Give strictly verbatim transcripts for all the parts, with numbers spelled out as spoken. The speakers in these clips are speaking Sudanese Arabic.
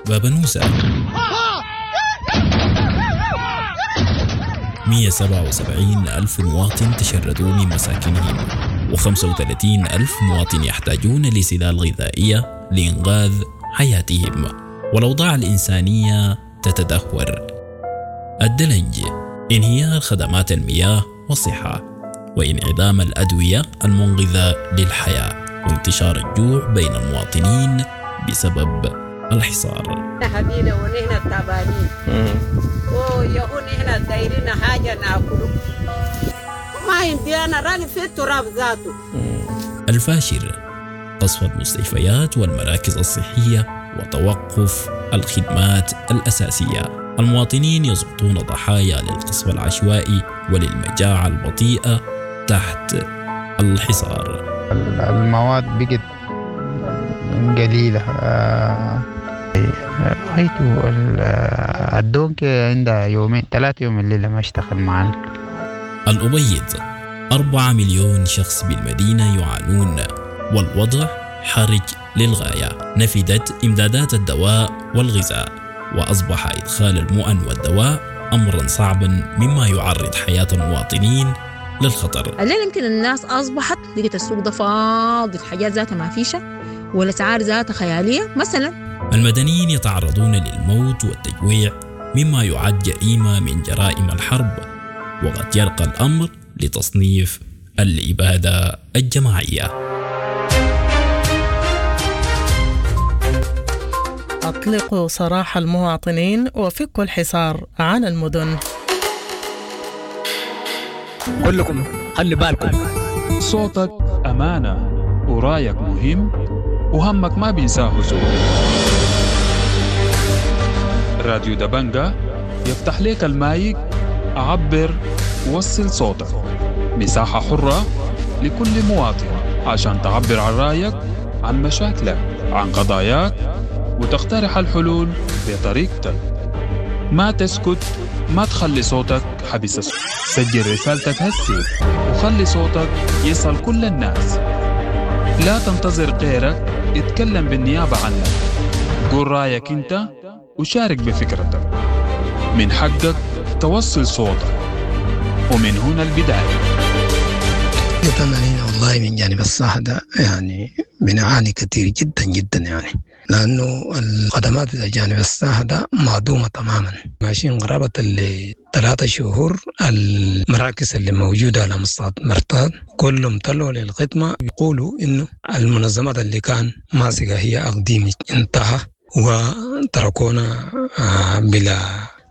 بابنوسة مئة وسبعة وسبعين ألف مواطن تشردوا من مساكنهم، وخمسة وثلاثين ألف مواطن يحتاجون لسلال غذائية لإنقاذ حياتهم، والأوضاع الإنسانية تتدهور. الدلنج، انهيار خدمات المياه والصحة، وانعدام الأدوية المنقذة للحياة، وانتشار الجوع بين المواطنين بسبب الحصار. حبينا ونحن تعبانين ويهون نحن دايرين حاجة ناكله، ما عندي أنا راني في التراب ذاته. الفاشر، قصف المستشفيات والمراكز الصحية وتوقف الخدمات الأساسية. المواطنين يسقطون ضحايا للقصف العشوائي وللمجاعة البطيئة تحت الحصار. المواد بقت قليلة، حيث الدونك عندها يومين ثلاثة يوم الليلة ما اشتغل معنا. الأبيض، أربعة مليون شخص بالمدينة يعانون، والوضع حرج للغاية. نفدت إمدادات الدواء والغذاء، وأصبح إدخال المؤن والدواء أمرا صعبا، مما يعرض حياة المواطنين للخطر. الليلة يمكن الناس أصبحت لقيت السوق ده فاضي، الحاجات ذاتها ما فيشة والأسعار ذاتها خيالية. مثلا المدنيين يتعرضون للموت والتجويع، مما يعد جريمة من جرائم الحرب، وقد يرقى الأمر لتصنيف الإبادة الجماعية. أطلقوا سراح المواطنين وفكوا الحصار عن المدن. كلكم خلي بالكم، صوتك أمانة ورايك مهم وهمك ما بينساه زول. راديو دبنجة يفتح لك المايك، عبر وصل صوتك، مساحة حرة لكل مواطن عشان تعبر عن رأيك، عن مشاكلك، عن قضاياك، وتقترح الحلول بطريقتك. ما تسكت، ما تخلي صوتك حبس. سجل رسالتك هسي وخلي صوتك يصل كل الناس. لا تنتظر غيرك يتكلم بالنيابة عنك، قول رأيك انت وشارك بفكرتك. من حقك توصل صوتك، ومن هنا البداية. والله من جانب الصحة ده يعني بنعاني كثير جدا جدا، يعني لأنه الخدمات إلى جانب الصحة ده معدومة تماما. ماشيين قرابة اللي ثلاثة شهور المراكز اللي موجودة على مستوى مرتاد كلهم طلعوا للخدمة، يقولوا إنه المنظمات اللي كان ماسكة هي أقديم انتهى وتركونا بلا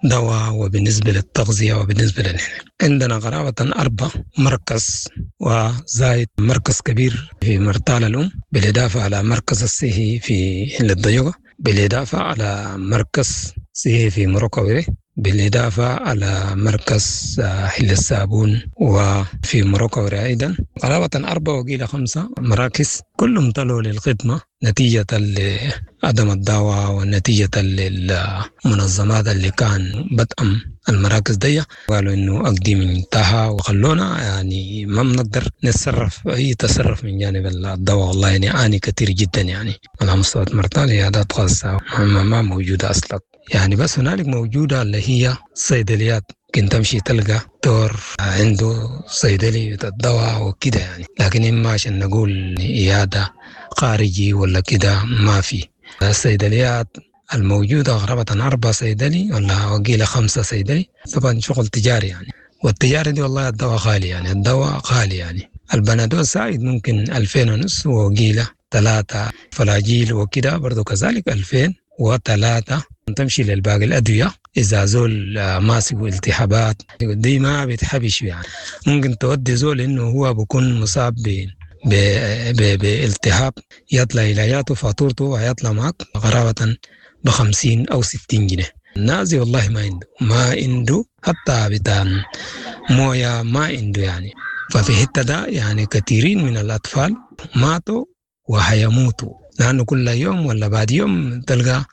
دواء. وبالنسبة للتغذية وبالنسبة للهنا عندنا قرابة أربع مركز وزايد مركز كبير في مرتال الأم، بالإضافة على مركز الصحي في حل الضيقة، بالإضافة على مركز صحي في مروكوي، بالإضافة على مركز حل الصابون وفي مروكوي أيضا. قرابة أربعة وقيل خمسة مراكز كلهم طلعوا للخدمة نتيجة لعدم الدواء ونتيجة للمنظمات اللي كان بدأم المراكز دي. قالوا إنه أقديم انتهى وخلونا يعني ما بنقدر نتصرف أي تصرف من جانب الدواء. والله يعني عاني كثير جدا يعني على مستوى مرتال عيادات خاصة ما موجودة أصلا يعني، بس هنالك موجودة اللي هي صيدليات، ممكن تمشي تلقى دور عنده صيدلي الدواء وكده يعني، لكن إما عشان نقول عيادة خارجي ولا كده ما في. الصيدليات الموجودة قرابة أربعة صيدلي ولا وقيلة خمسة صيدلي، طبعا شغل تجاري يعني، والتجاري دي والله الدواء غالي يعني، الدواء غالي يعني. البنادول سايد ممكن ألفين ونص وقيلة ثلاثة، فلاجيل وكده برضو كذلك ألفين وثلاثة. تمشي للباقي الأدوية إذا زول ماسك التهابات دي ما بيتحبش يعني، ممكن تودي زول إنه هو بيكون مصاب ب بالتهاب يطلع علاجاته فاتورته ويطلع معك قرابة بخمسين أو ستين جنيه. النازي والله ما عنده، ما عنده حتى بتاع موية ما عنده يعني. ففي حتة ده يعني كثيرين من الأطفال ماتوا وهيموتوا، لأنه كل يوم ولا بعد يوم تلقى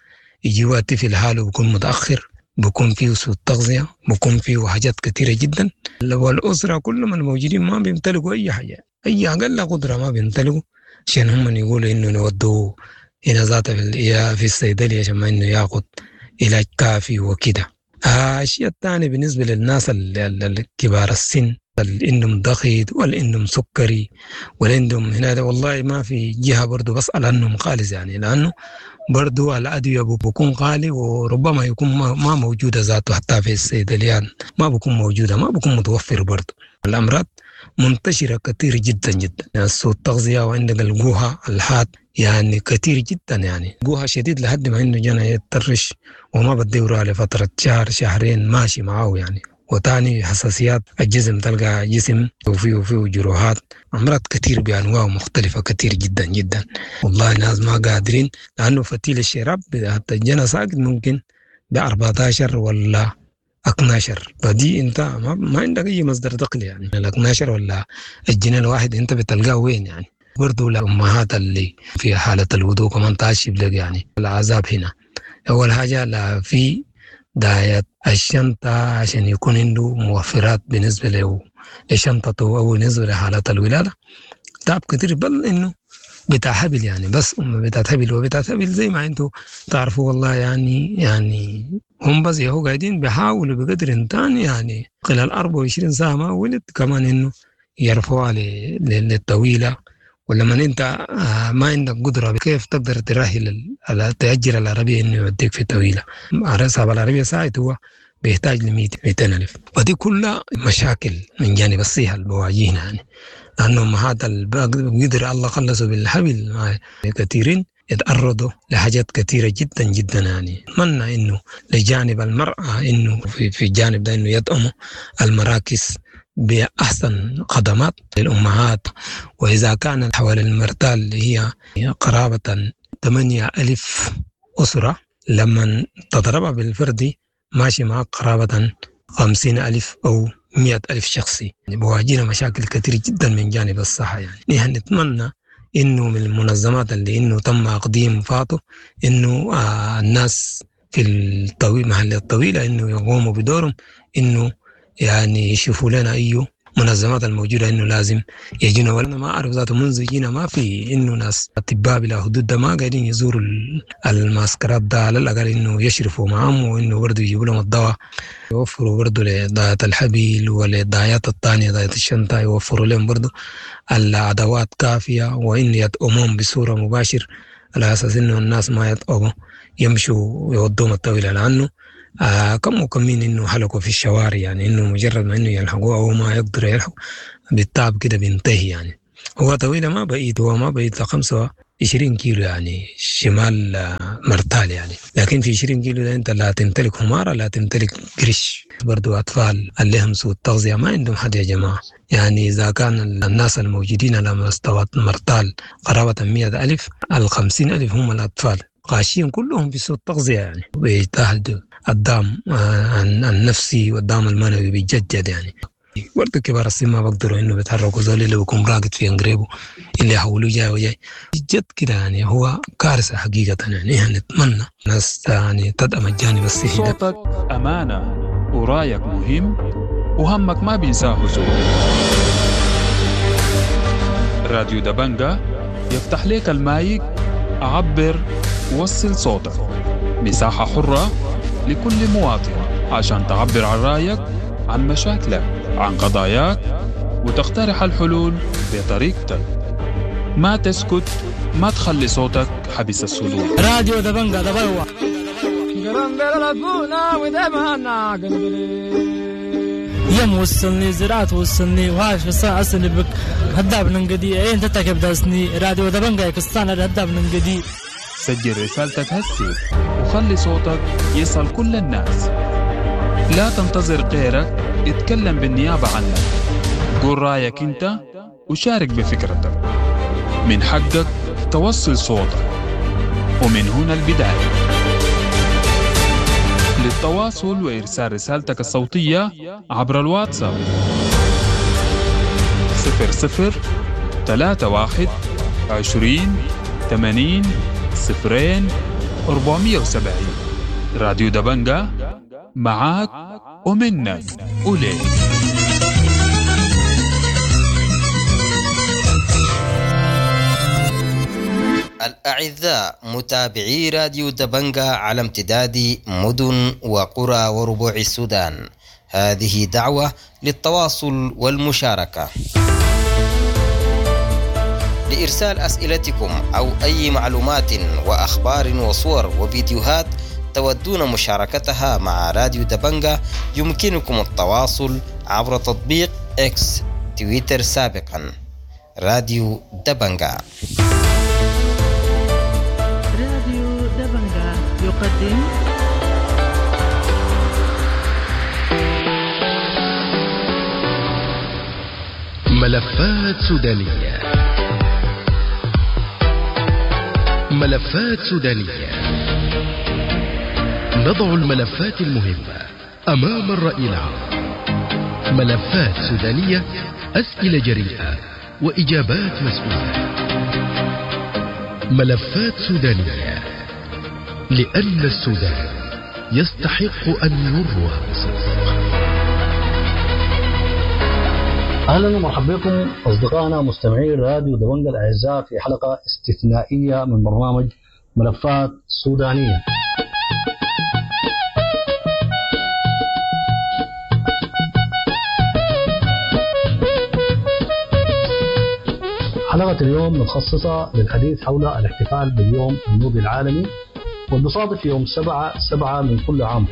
يجي طفل حاله بيكون متأخر، بيكون فيه سوء تغذية، بيكون فيه حاجات كثيرة جدا. والأسرة كلهم الموجودين ما بيمتلكوا أي حاجة، أي أقل قدرة ما بيمتلكوا عشان هم يقولوا إنه نودوه هنا ذاتها في, في الصيدلية عشان ما إنه ياخد علاج كافي وكده. آه الشيء الثاني بالنسبة للناس الكبار السن اللي عندهم ضغط واللي عندهم سكري واللي عندهم هنا والله ما في جهة برضو بسأل عنهم خالص يعني، لأنه برضو الأدوية بكون غالي وربما يكون ما موجودة ذاته حتى في الصيدليات، ما بكون موجودة، ما بكون متوفر. برضو الأمراض منتشرة كثير جدا جدا، يعني سوء التغذية وعندك الجوهة الحاد يعني كثير جدا، يعني جوها شديد لحد ما انه جانا يتطرش وما بديوره لفترة شهر شهرين ماشي معاه يعني. وتاني حساسيات الجسم، تلقى جسم وفيه وفيه جروحات، أمراض كثير بأنواع مختلفة كثير جدا جدا. والله الناس ما قادرين، لأنه فتيل الشراب حتى الجنى ساقط ممكن ب أربعتاشر ولا اتناشر، فدي انت ما, ما عندك اي مصدر دخل يعني. ال اتناشر ولا الجنيه الواحد انت بتلقاه وين يعني؟ برضو الأمهات اللي في حالة الوضوء كمان تعشب لك يعني العذاب هنا. أول حاجة لا في داية الشنطة عشان يكون عنده موفرات بالنسبة له لشنطته أو بالنسبة لحالات الولادة، تعب كتير، بل إنه بتاع حبل يعني، بس أم بتاع حبل وبتاع حبل زي ما أنتوا تعرفوا والله يعني. يعني هم بس يهو قاعدين بيحاولوا بقدر الإمكان يعني خلال أربعة وعشرين ساعة ما ولد كمان إنه يرفعوها للطويلة. ولما انت ما عندك قدره كيف تقدر ترحل تأجر العربيه انه يوديك في طويله؟ صاحب العربيه ساعته هو بيحتاج ل مئتين ألف، ودي كلها مشاكل من جانب الصحه اللي بواجهنا يعني، لانه هذا قدر الله خلصوا بالحبل كثيرين يتعرضوا لحاجات كثيرة جدا جدا يعني. أتمنى إنه لجانب المرأة إنه في, في الجانب ده إنه يدعموا المراكز بأحسن خدمات للأمهات. وإذا كان حوالي المرتال اللي هي قرابة ثمانية ألف أسرة، لما تضربها بالفردي ماشي معك قرابة خمسين ألف أو مئة ألف شخصي. يعني بواجهنا مشاكل كثير جدا من جانب الصحة يعني. نحن نتمنى إنه من المنظمات اللي إنه تم تقديم فاته إنه آه الناس في الطويل محل الطويلة إنه يقوموا بدورهم، إنه يعني يشوفوا لنا أيه منظمات الموجودة إنه لازم يجينا. وأنا ما أعرف ذاته منذ جينا ما في إنه ناس أطباء بلا حدود ده ما قاعدين يزوروا المعسكرات ده، على الأقل إنه يشرفوا معهم وإنه برضه يجيبوا لهم الدواء، يوفروا برضه لضاية الحبيل وللضايات الثانية ضاية الشنطة، يوفروا لهم برضه الأدوات كافية، وإن يدعموهم بصورة مباشرة على أساس إنه الناس ما يتعبوا يمشوا يودوهم الطويلة، لأنه آه كم وكمين إنه حلقوا في الشوارع يعني، إنه مجرد ما إنه يلحقوه أو ما يقدروا يلحقوا بالتعب كده بينتهي يعني. هو طويلة ما بعيد، هو ما بعيد خمسة وعشرين كيلو يعني شمال مرتال يعني، لكن في عشرين كيلو ده أنت لا تمتلك حمارة لا تمتلك قرش. برضو أطفال اللي هم سوء التغذية ما عندهم حد يا جماعة يعني. إذا كان الناس الموجودين على مستوى مرتال قرابة مئة ألف، الخمسين ألف هم الأطفال غاشين كلهم في سوء التغذية يعني، بيجتهدوا الدعم النفسي والدعم المعنوي بيتجدد يعني. برضه كبار السن ما بقدروا انه بيتحركوا، زول اللي بيكون راقد في انقريبه اللي يحولوه جاي وجاي جد كده يعني، هو كارثه حقيقه يعني. احنا نتمنى ناس يعني تدعم الجانب الصحي ده. صوتك امانه ورايك مهم وهمك ما بينساه زول. راديو دبنجا يفتح لك المايك، عبر وصل صوتك، مساحه حره لكل مواطن عشان تعبر عن رأيك، عن مشاكلك، عن قضاياك، وتقترح الحلول بطريقتك. ما تسكت، ما تخلي صوتك حبس الصدور. راديو دبنجا دبلوة. يم وصلني زراعة وصلني وهاش بس أصلي بك هداب ننقدي إيه أنت تكب داسني راديو دبنجا يكستان هداب ننقدي. سجل رسالتك هسي وخلي صوتك يصل كل الناس. لا تنتظر غيرك اتكلم بالنيابة عنك. قول رأيك انت وشارك بفكرتك. من حقك توصل صوتك، ومن هنا البداية. للتواصل وإرسال رسالتك الصوتية عبر الواتساب صفر صفر ثلاثة واحد عشرين ثمانين صفرين أربعمية وسبعين. راديو دبنجا معاك ومنك وليك. الأعزاء متابعي راديو دبنجا على امتداد مدن وقرى وربوع السودان، هذه دعوة للتواصل والمشاركة. لإرسال أسئلتكم أو أي معلومات وأخبار وصور وفيديوهات تودون مشاركتها مع راديو دبنجا، يمكنكم التواصل عبر تطبيق إكس تويتر سابقا راديو دبنجا. راديو دبنجا يقدم ملفات سودانية. ملفات سودانية، نضع الملفات المهمة أمام الرأي العام. ملفات سودانية، أسئلة جريئة وإجابات مسؤولة. ملفات سودانية، لأن السودان يستحق أن يروى بصدق. أهلا ومرحبا بكم أصدقائنا مستمعي راديو دبنجا الأعزاء في حلقة استثنائية من برنامج ملفات سودانية. حلقة اليوم متخصصة للحديث حول الاحتفال باليوم النوبي العالمي، والمصادف يوم سبعة سبعة من كل عام.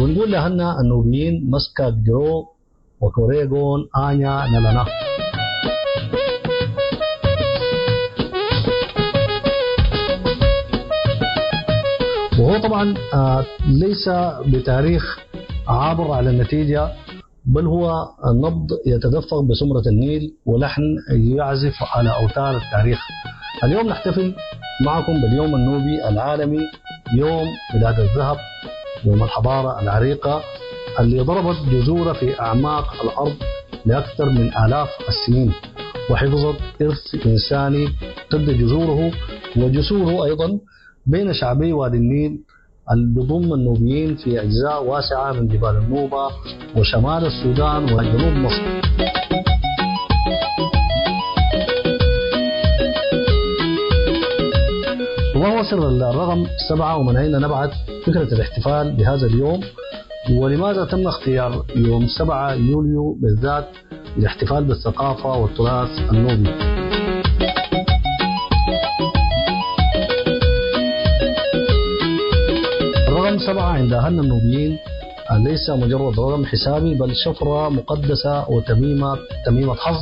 ونقول لأهلنا النوبيين مسكا جرو وكوريغون آنيا نلنا. وهو طبعا ليس بتاريخ عابر على النتيجة، بل هو النبض يتدفق بسمرة النيل ولحن يعزف على أوتار التاريخ. اليوم نحتفل معكم باليوم النوبي العالمي، يوم بلاد الذهب، يوم الحضارة العريقة اللي ضربت جذورها في أعماق الأرض لأكثر من آلاف السنين، وحفظت إرث إنساني تبدأ جذوره وجسوره أيضا بين شعبي وادي النيل اللي بيضم النوبيين في أجزاء واسعة من جبال النوبة وشمال السودان وجنوب مصر. وما هو سر الرقم سبعة ومن أين نبعت فكرة الاحتفال بهذا اليوم؟ ولماذا تم اختيار يوم سبعة يوليو بالذات للاحتفال بالثقافة والتراث النوبي؟ الرقم سبعة عند أهلنا النوبيين ليس مجرد رقم حسابي، بل شفرة مقدسة وتميمة تميمة حظ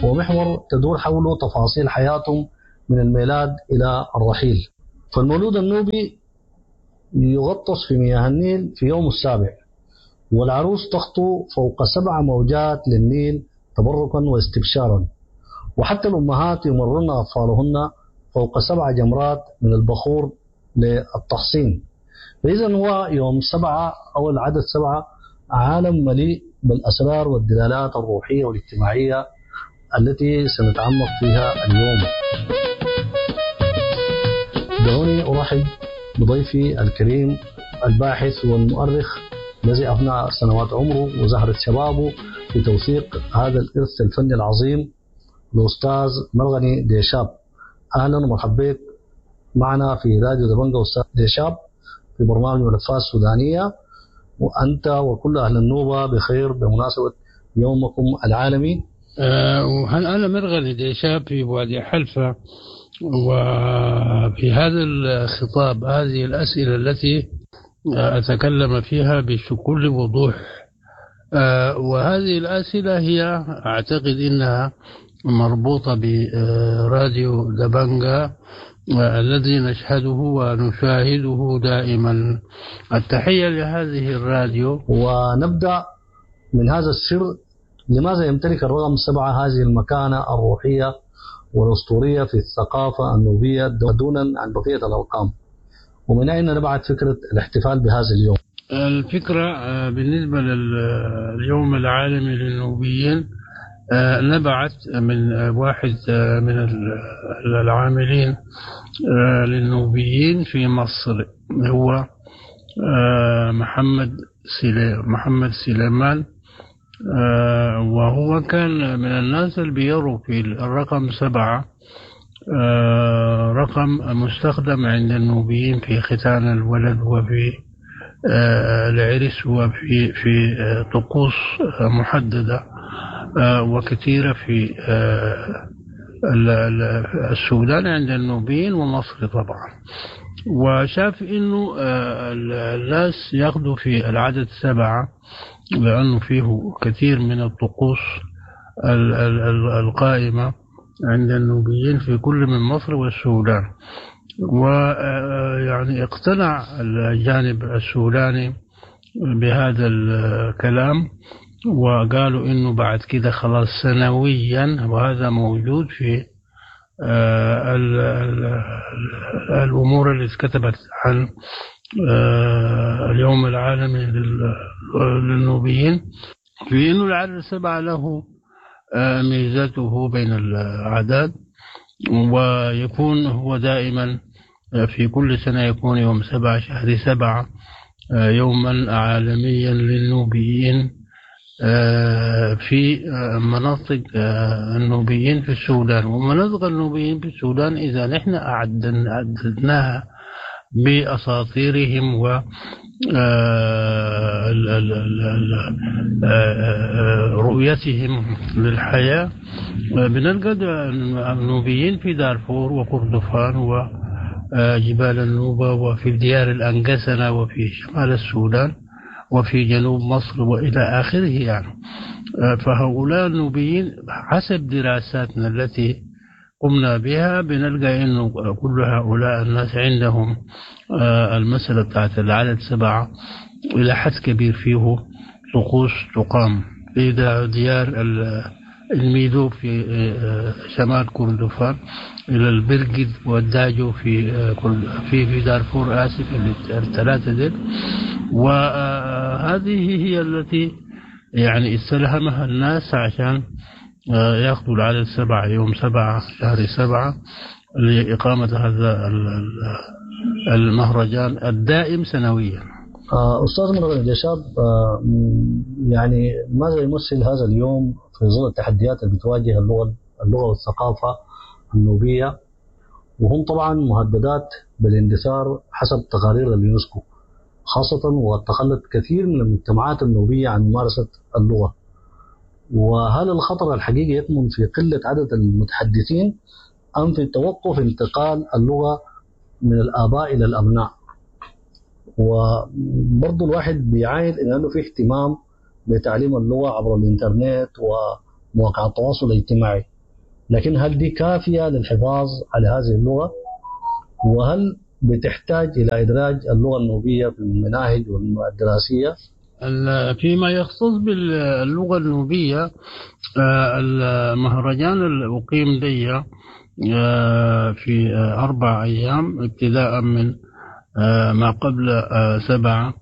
ومحور تدور حوله تفاصيل حياتهم من الميلاد إلى الرحيل. فالمولود النوبي يغطس في مياه النيل في يوم السابع، والعروس تخطو فوق سبع موجات للنيل تبركا واستبشارا، وحتى الأمهات يمرن أطفالهن فوق سبع جمرات من البخور للتحصين. فإذا هو يوم سبعة أو العدد سبعة عالم مليء بالأسرار والدلالات الروحية والاجتماعية التي سنتعمق فيها اليوم. دعوني أرحب بضيفي الكريم الباحث والمؤرخ الذي أفنى سنوات عمره وزهرة شبابه في توثيق هذا الإرث الفني العظيم، الأستاذ مرغني ديشاب. أهلا ومرحبا بك معنا في راديو دبنجا أستاذ ديشاب في برنامج ملفات سودانية، وأنت وكل أهل النوبة بخير بمناسبة يومكم العالمي. أه أنا مرغني ديشاب في وادي حلفة، وفي هذا الخطاب هذه الأسئلة التي أتكلم فيها بكل وضوح، وهذه الأسئلة هي أعتقد أنها مربوطة براديو دبنجا الذي نشهده ونشاهده دائما. التحية لهذه الراديو. ونبدأ من هذا السر، لماذا يمتلك الرقم سبعة هذه المكانة الروحية والأسطورية في الثقافة النوبية دونا عن بقية الأرقام؟ ومن أين نبعت فكرة الاحتفال بهذا اليوم؟ الفكرة بالنسبة لليوم العالمي للنوبيين نبعت من واحد من العاملين للنوبيين في مصر، هو محمد محمد سليمان، وهو كان من الناس اللي بيروا في الرقم سبعة رقم مستخدم عند النوبيين في ختان الولد وفي العرس وفي في طقوس محددة وكثيرة في السودان عند النوبيين ومصر طبعا. وشاف إنه الناس ياخذوا في العدد سبعة لأنه فيه كثير من الطقوس القائمة عند النوبيين في كل من مصر والسودان. ويعني اقتنع الجانب السوداني بهذا الكلام، وقالوا إنه بعد كده خلاص سنويا، وهذا موجود في ال ال الأمور اللي اتكتبت عن اليوم العالمي للنوبيين، في إنه العدد السبعة له ميزته بين الأعداد، ويكون هو دائما في كل سنة يكون يوم سبعة شهر سبعة يوما عالميا للنوبيين في مناطق النوبيين في السودان. ومناطق النوبيين في السودان إذا نحن أعددناها بأساطيرهم و رؤيتهم للحياة، بنلقى النوبيين في دارفور وكردفان وجبال النوبة وفي ديار الأنقسنة وفي شمال السودان وفي جنوب مصر وإلى آخره يعني. فهؤلاء النوبيين حسب دراساتنا التي قمنا بها بنلقى إنه كل هؤلاء الناس عندهم المسألة بتاعت العدد سبعة إلى حد كبير فيه طقوس تقام في ديار الميدو في شمال كردفان إلى البرقد والداجو في في في دارفور، آسف الثلاثة ديل. وهذه هي التي يعني استلهمها الناس عشان ياخذوا العدد سبعة يوم سبعة شهر سبعة لإقامة هذا المهرجان الدائم سنويا. أستاذ مرغني جشاب، يعني ماذا يمثل هذا اليوم في ظل التحديات اللي بتواجه اللغة اللغة والثقافة النوبية، وهم طبعا مهددات بالاندثار حسب تقارير اليونسكو، خاصة وتخلت كثير من المجتمعات النوبية عن ممارسة اللغة؟ وهل الخطر الحقيقي يكمن في قلة عدد المتحدثين أم في توقف انتقال اللغة من الآباء إلى الأبناء؟ وبرضو الواحد بيعاين إلى أنه في اهتمام بتعليم اللغة عبر الإنترنت ومواقع التواصل الاجتماعي، لكن هل دي كافية للحفاظ على هذه اللغة؟ وهل بتحتاج إلى إدراج اللغة النوبية في المناهج الدراسية؟ فيما يختص باللغة النوبية، المهرجان اللي أقيم دي في أربع أيام ابتداء من ما قبل سبعة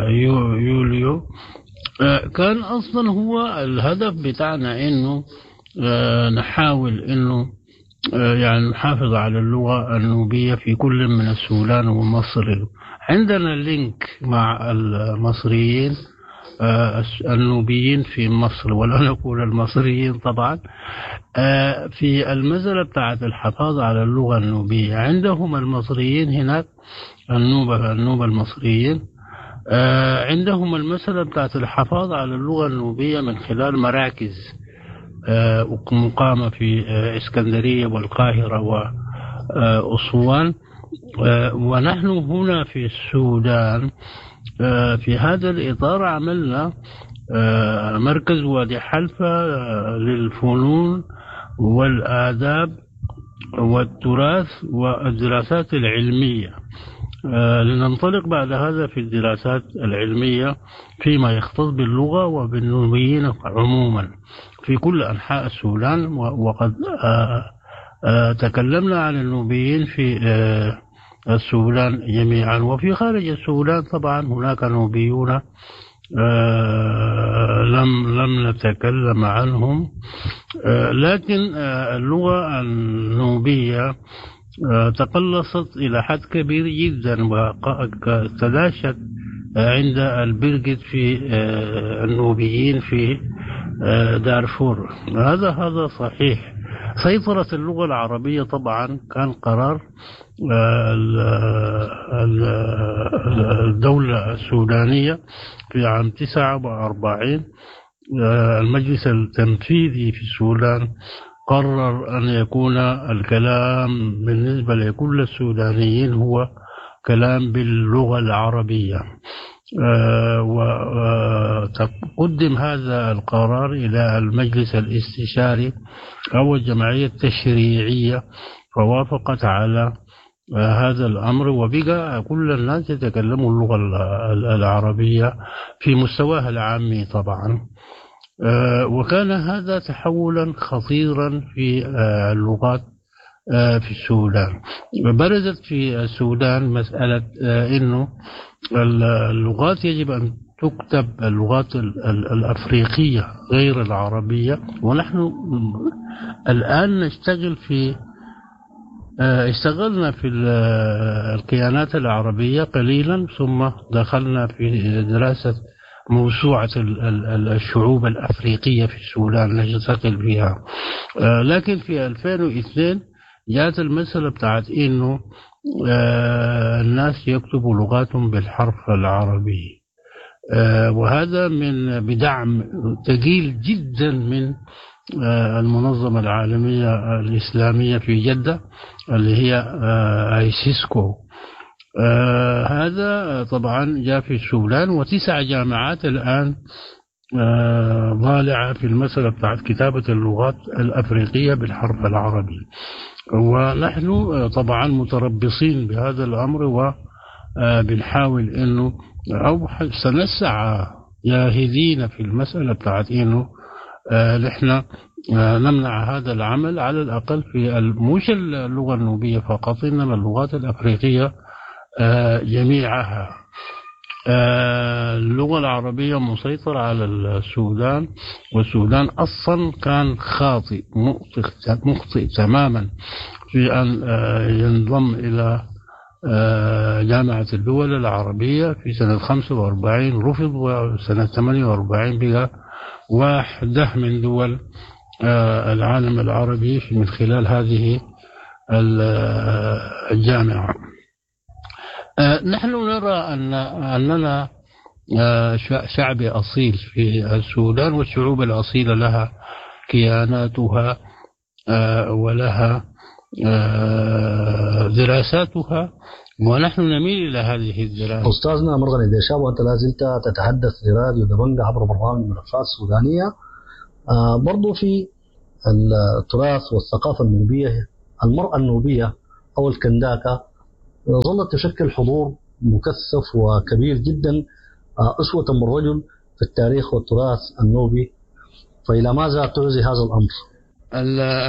يوليو، كان أصلا هو الهدف بتاعنا إنه نحاول إنه يعني نحافظ على اللغة النوبية في كل من السودان ومصر. عندنا link مع المصريين النوبيين في مصر، ولا نقول المصريين طبعا، في المسألة بتاعت الحفاظ على اللغة النوبية. عندهم المصريين هناك النوبة النوبة المصريين عندهم المسألة بتاعت الحفاظ على اللغة النوبية من خلال مراكز مقامة في اسكندرية والقاهرة وأسوان. ونحن هنا في السودان في هذا الإطار عملنا مركز وادي حلفة للفنون والآداب والتراث والدراسات العلمية، لننطلق بعد هذا في الدراسات العلمية فيما يختص باللغة وبالنوبيين عموما في كل أنحاء السودان. وقد تكلمنا عن النوبيين في السودان جميعا، وفي خارج السودان طبعا هناك نوبيون لم لم نتكلم عنهم، لكن اللغة النوبية تقلصت إلى حد كبير جدا وتلاشت عند البرقد في النوبيين في دارفور. هذا هذا صحيح. سيطرة اللغة العربية طبعا كان قرار الدولة السودانية في عام تسعة وأربعين. المجلس التنفيذي في السودان قرر أن يكون الكلام بالنسبة لكل السودانيين هو كلام باللغة العربية، وقدم هذا القرار إلى المجلس الاستشاري أو الجمعية التشريعية فوافقت على هذا الأمر، وبقى كل الناس يتكلموا اللغة العربية في مستواها العامي طبعا. وكان هذا تحولا خطيرا في اللغات في السودان. برزت في السودان مسألة إنه اللغات يجب أن تكتب، اللغات الأفريقية غير العربية، ونحن الآن نشتغل في اشتغلنا في الكيانات العربية قليلا، ثم دخلنا في دراسة موسوعة الشعوب الأفريقية في السودان نشتغل فيها. لكن في ألفين واثنين جاءت المسألة بتاعت إنه الناس يكتبوا لغاتهم بالحرف العربي، وهذا من بدعم ثقيل جدا من المنظمة العالمية الإسلامية في جدة اللي هي ايسيسكو. هذا طبعا جاء في السودان، وتسع جامعات الآن ضالعة في المسألة بتاعت كتابة اللغات الأفريقية بالحرف العربي، ونحن طبعا متربصين بهذا الأمر وبنحاول إنه أو سنسعى جاهدين في المسألة بتاعت إنه نحن نمنع هذا العمل على الأقل في مش اللغة النوبية فقط، إنما اللغات الأفريقية جميعها. اللغة العربية مسيطرة على السودان، والسودان أصلا كان خاطئ مخطئ تماما في أن ينضم إلى جامعة الدول العربية في سنة خمسة وأربعين رفض، وسنة ثمانية وأربعين بقى واحدة من دول العالم العربي من خلال هذه الجامعة. نحن نرى أن أننا شعب أصيل في السودان، والشعوب الأصيلة لها كياناتها ولها دراساتها، ونحن نميل إلى هذه الدراسة. أستاذنا مرغني ديشاب، وأنت لا زلت تتحدث لراديو دبنجة عبر برنامج ملفات سودانية. برضو في التراث والثقافة النوبية، المرأة النوبية أو الكنداكة ظلت تشكل حضور مكثف وكبير جدا أسوة بالرجل في التاريخ والتراث النوبي، فإلى ماذا تعزي هذا الأمر؟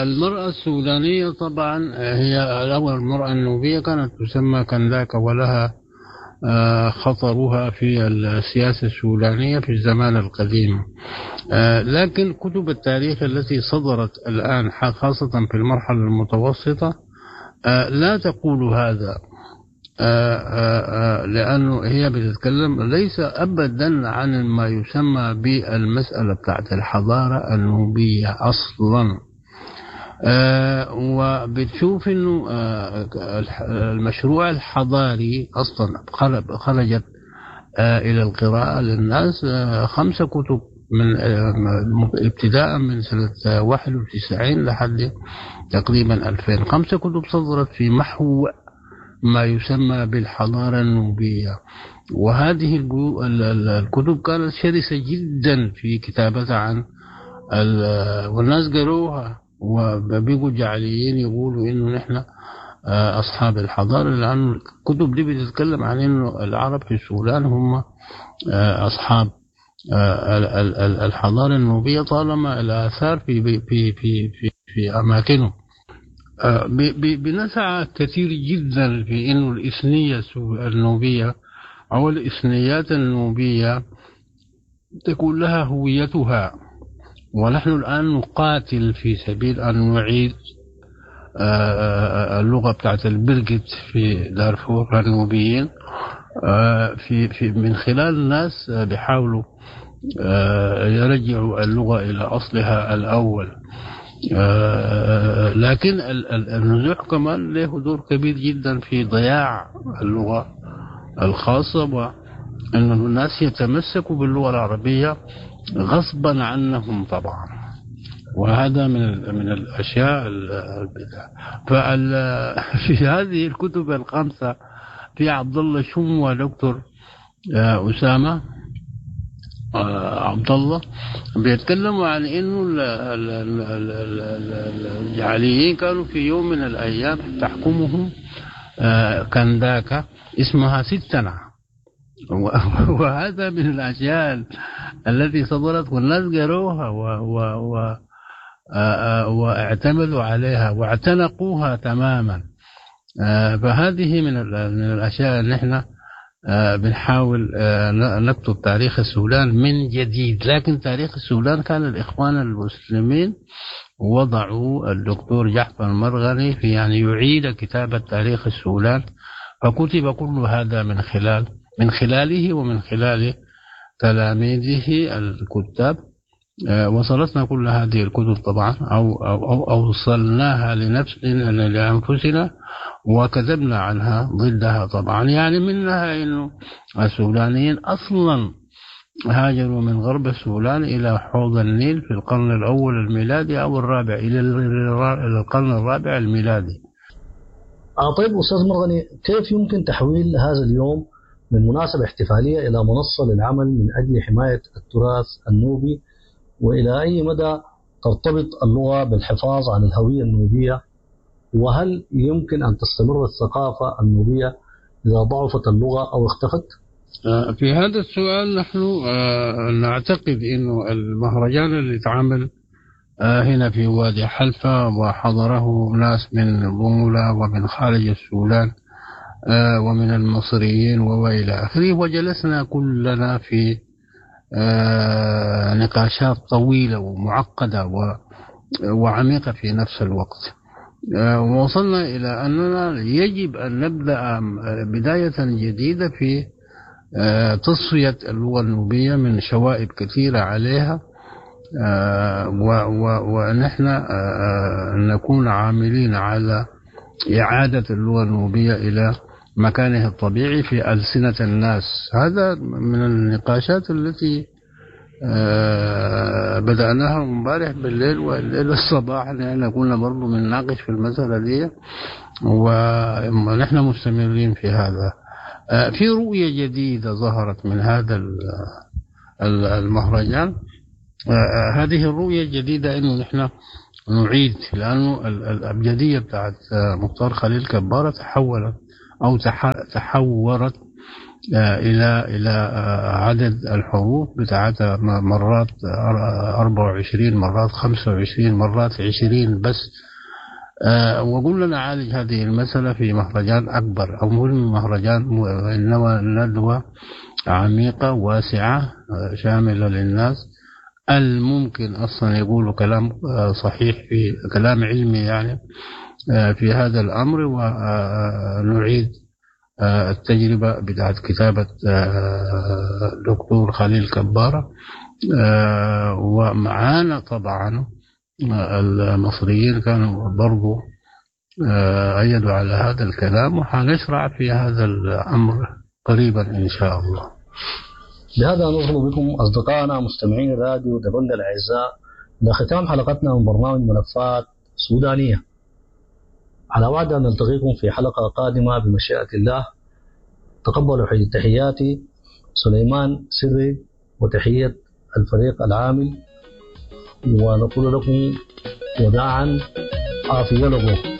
المرأة السودانية طبعا هي الأول، المرأة النوبية كانت تسمى كنداكة، ولها خطرها في السياسة السودانية في الزمان القديم. لكن كتب التاريخ التي صدرت الآن خاصة في المرحلة المتوسطة لا تقول هذا، لأنه هي بتتكلم ليس أبدا عن ما يسمى بالمسألة بتاعت الحضارة النوبية أصلا. وبتشوف أنه المشروع الحضاري أصلا خرجت إلى القراءة للناس خمسة كتب من ابتداء من سنة واحد وتسعين لحد تقريبا ألفين، خمسة كتب صدرت في محو ما يسمى بالحضارة النوبية. وهذه الكتب كانت شرسة جدا في كتابتها عن، والناس قروها وبيقوا جعليين يقولوا إنه نحن أصحاب الحضارة، لأن الكتب دي بتتكلم عن إنه العرب في السودان هم أصحاب الحضارة النوبية طالما الآثار في في في في, في أماكنهم. بنسعى كثير جدا في إنه الإثنية النوبية أو الإثنيات النوبية تكون لها هويتها، ونحن الآن نقاتل في سبيل أن نعيد اللغة بتاعت البرجت في دارفور النوبيين في في من خلال الناس بيحاولوا يرجعوا اللغة إلى أصلها الأول. لكن النزوح كمان له دور كبير جدا في ضياع اللغة الخاصة، وأن الناس يتمسكوا باللغة العربية غصبا عنهم طبعا، وهذا من من الأشياء البدع. ففي هذه الكتب الخمسة في عبد الله شم ودكتور أسامة عبد الله بيتكلموا عن انه الجعليين كانوا في يوم من الايام تحكمهم كنداكا اسمها ستنا، وهذا من الاشياء التي صدرت والناس قروها و و و واعتمدوا عليها واعتنقوها تماما. فهذه من من الاشياء اللي احنا بنحاول نكتب تاريخ السودان من جديد. لكن تاريخ السودان كان الإخوان المسلمين وضعوا الدكتور جعفر المرغني في يعني يعيد كتابة تاريخ السودان، فكتب كل هذا من خلال من خلاله ومن خلال تلاميذه الكتاب. وصلتنا كل هذه الكتب طبعا أو, أو, أو أوصلناها لنفسنا لأنفسنا وكتبنا عنها ضدها طبعا. يعني منها إنه السودانيين أصلا هاجروا من غرب السودان إلى حوض النيل في القرن الأول الميلادي أو الرابع إلى القرن الرابع الميلادي. طيب أستاذ مرغني، كيف يمكن تحويل هذا اليوم من مناسبة احتفالية إلى منصة للعمل من أجل حماية التراث النوبي، وإلى أي مدى ترتبط اللغة بالحفاظ على الهوية النوبية، وهل يمكن أن تستمر الثقافة النوبية إذا ضعفت اللغة أو اختفت؟ في هذا السؤال نحن نعتقد أنه المهرجان اللي اتعمل هنا في وادي حلفة وحضره ناس من بومولا ومن خارج السودان ومن المصريين وإلى آخره، وجلسنا كلنا في نقاشات طويلة ومعقدة وعميقة في نفس الوقت، ووصلنا إلى أننا يجب أن نبدأ بداية جديدة في تصفية اللغة النوبية من شوائب كثيرة عليها، ونحن نكون عاملين على إعادة اللغة النوبية إلى مكانها الطبيعي في ألسنة الناس. هذا من النقاشات التي بدأناها امبارح بالليل والليل الصباح، لأن كنا برضو بنناقش في المسألة دي ونحن مستمرين في هذا. في رؤية جديدة ظهرت من هذا المهرجان. هذه الرؤية الجديدة إنه نحن نعيد، لأنه الأبجدية بتاعت مختار خليل كبارة تحولت أو تحورت إلى إلى عدد الحروف بتاعتها مرات أربعة وعشرين، مرات خمسة وعشرين، مرات عشرين بس. وقلنا نعالج هذه المسألة في مهرجان أكبر، أو مو مهرجان إنما ندوة عميقة واسعة شاملة للناس الممكن أصلا يقولوا كلام صحيح في كلام علمي يعني في هذا الأمر، ونعيد التجربة بتاعت كتابة دكتور خليل كبارة. ومعانا طبعا المصريين كانوا برضو أيدوا على هذا الكلام، وحنشرع في هذا الأمر قريبا إن شاء الله. بهذا نصل بكم أصدقائنا مستمعين راديو دبنجا الأعزاء لختام حلقتنا من برنامج ملفات سودانية. على وعد أن نلتقيكم في حلقة قادمة بمشيئة الله. تقبلوا تحياتي سليمان سري وتحية الفريق العامل، ونقول لكم وداعا عافية لكم.